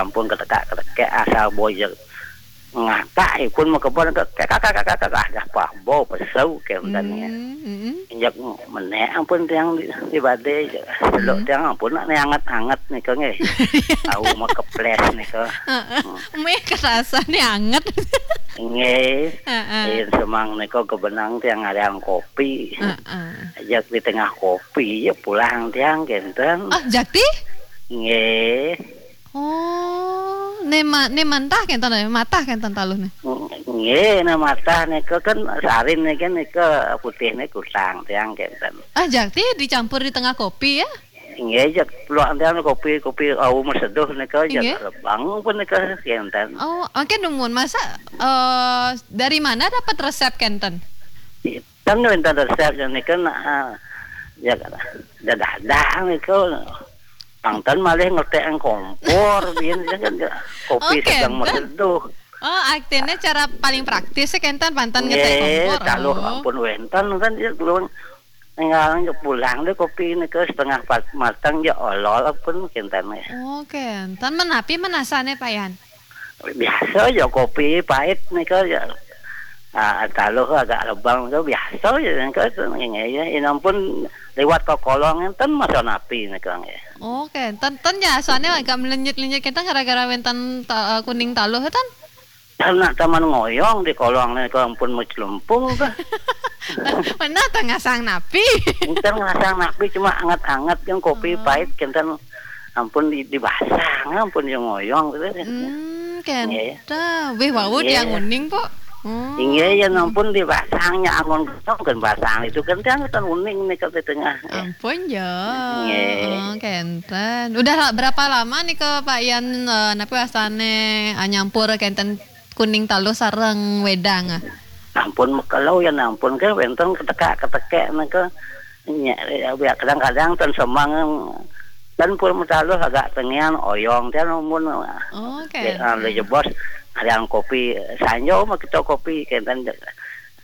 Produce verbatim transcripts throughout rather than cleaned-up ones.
Ampun ketekak-ketekek asal boya ngakak ipun makebon, kekak, kekak, kekak, kekak, dah pah bau pesau kenten ya. Hmm, mm-mm. Injak menek ampun tiang di, di badai, seluk hmm tiang ampun nak ni anget-anget nika nggih. Tahu makeples nika. Heeh. Hmm. Meh kerasa ni anget. Nggih. Heeh. Yen semang nika kebenang tiang ngarian kopi. Heeh. Jak di tengah kopi ya pulang tiang kenten. Ah, jakti? Nggih. Oh, ne ma-, ne mantah kenten, ne matah kenten taluh ne. Nggih, ne matah nika kan sarin nika, nika putih ne kusang tiang kenten. Ah, jakti dicampur di tengah kopi ya? Nggih, jak peluang tiang kopi, kopi au maseduh nika jak nggih lebang pun nika kenten. Oh, oke, numun. Masa, eh, dari mana dapat resep kenten? Kan wénten resep nika, nah, ya, dadah nika. Pangten malih ngetek kompor, biyen kan kopi oke, sedang enten maseduh. Oh, artinya cara paling praktis sih kenten pangten ngetek nggih, kompor. Taluh oh ampun wénten kan ya, keluar tinggal pulang deh kopi nika setengah pat-, matang ya olol pun kenten ya. Oke, enten menapi menasane Pak Yan? Biasa ya kopi pait nika ya. Ah, taluh agak lebang tu biasa ya nika tu nggih ya. Yen ampun liwat ke kolong enten masa napi nika nggih. Oke, enten, enten ya, soalnya agak melenyit-lenyit kita gara-gara wénten ta-, eh, kuning taluh enten. Karena taman ngoyong di kolong nika ampun mecelempung ke. Mana tengah sang napi? Enten ngasang napi cuma anget-anget yang kopi oh pait kenten ampun di, dibasang, ampun yang ngoyong gitu. Hmm, nggih. Kenta. Wih, wau nggih tiang uning, Pok. Hmm. Nggih, ya ampun dibasangnya angon kosong kan basang itu kan tiang kan uning nika di tengah. Nggih. Ampun ya. Nggih. Oh, kenten. Udah la-, berapa lama nih ke Pak Yan, eh, napa wastane, eh, nyampur kenten kuning taluh sareng wedang, ah? Ampun mekelo ya ampun ke wénten ketekak-ketekek nika. Nya, ya, kadang-kadang ten semang ten pun metaluh agak tengian oyong ten mun. Oke. Jebos ada kopi sanjo mah kita kopi kenten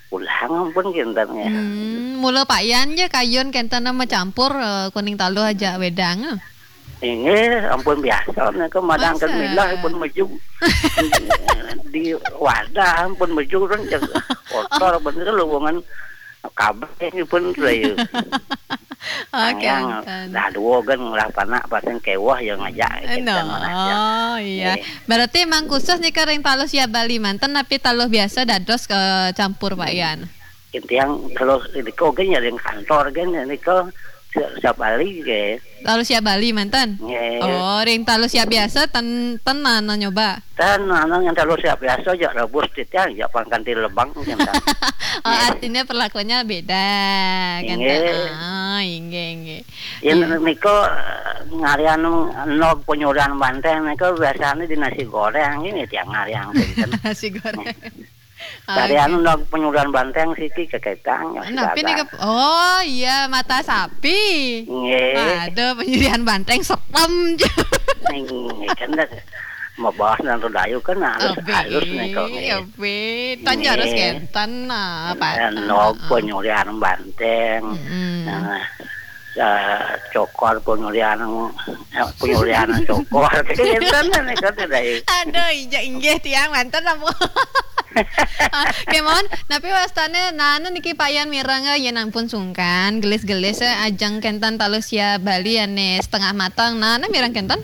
pulang ampun kenten ya. Hmm, mula Pak Yan je kayun kenten nama campur, eh, kuning taluh aja wedang, eh. Inggih, ampun biasa nika madang kan masa milah pun meju. Di wadah pun meju kan jeg kotor bener lowongan kabeh pun saya. Oke, angin enten. Dah dua kan ngelah panak pasang kewah ya ngajak no. Oh, iya. Eh. Berarti emang khusus nih kering taluh siap Bali manten tapi taluh biasa dados ke campur Pak Yan. Intiang kalau nika kan ya ring kantor kan ya nika siap, siap Bali ke. Taluh siap Bali manten? Nggih. Oh, ring taluh siap biasa ten, ten mana nyoba? Ten mana yang taluh siap biasa jak rebus titiang jak pangkan di lebang kan. Oh, artinya perlakuannya beda kan. Nggih. Ah, inggih, inggih. Yen nika ngarian nog penyuran banteng nika biasanya di nasi goreng ini tiang ngarian kan. Nasi goreng. Dari anu nang penyuran banteng siki keketang ya. Nah, sudah ini ke, oh iya, mata sapi. Nggih. Ada penyuran banteng serem je. Nggih, kan dah mabahas nang Dayu kan halus, halus nih kok. Obe, tan harus kenten nah, Pak. Nog penyuran banteng. Mm-mm. Nah, eh, cokor penyulian, eh, penyulian cokor. Kenten nih kan tidak. Aduh, injak inggih tiang manten apa? Ah, kemon, tapi wastane nana niki Pak Yan mireng, eh, yen ampun sungkan, gelis-gelis, eh, ajeng kenten taluh sia Bali ane setengah matang. Nana mireng kenten?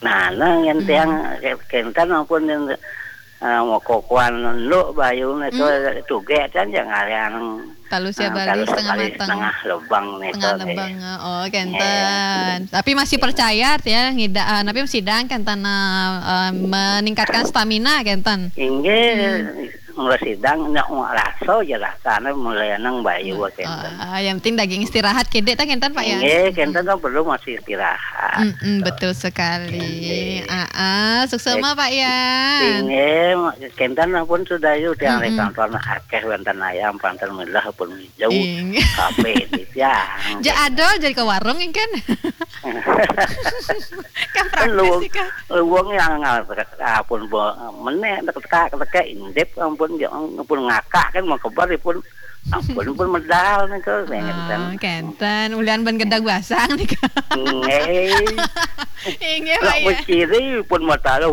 Nah, nah, yang tiang ke-, kenten ampun yang, eh, mau kokoan nduk bayu nika tugek kan yang ngarian, taluh sia Bali setengah matang. Setengah lebang nika. Setengah lebang, eh, oh, kenten. Tapi masih percaya ya ngida, eh, tapi sidang kenten, eh, meningkatkan stamina kenten. Inggih. Mulai sidang ndak mau rasa je rasane mulai nang bayu kenten. Ah, yang penting daging istirahat kedek ta kenten, Pak, ya? Nggih, kenten kan perlu masih istirahat. Mm-mm, betul sekali. Nggih. Ah, ah, suksema, Pak Yan. Nggih, kenten pun sudah yuk tiang di kantor nak akeh wonten ayam, panten milah pun jauh. Inggih. Kabeh di tiang. Ja ada jadi ke warung kan? Kan praktis sih, kan? Luwung yang ngal-, ampun bo-, menek, tekek, tekek, indip, ampun, ya, ampun ngakak, kan, mau kebar, pun, ampun, pun medal, nih, kok, saya ngeten. Ah, kenten. Ulian ben gedeg basang, nih, kok. Nggih. Inggih, Pak, ya. Nak berciri, pun mau tahu,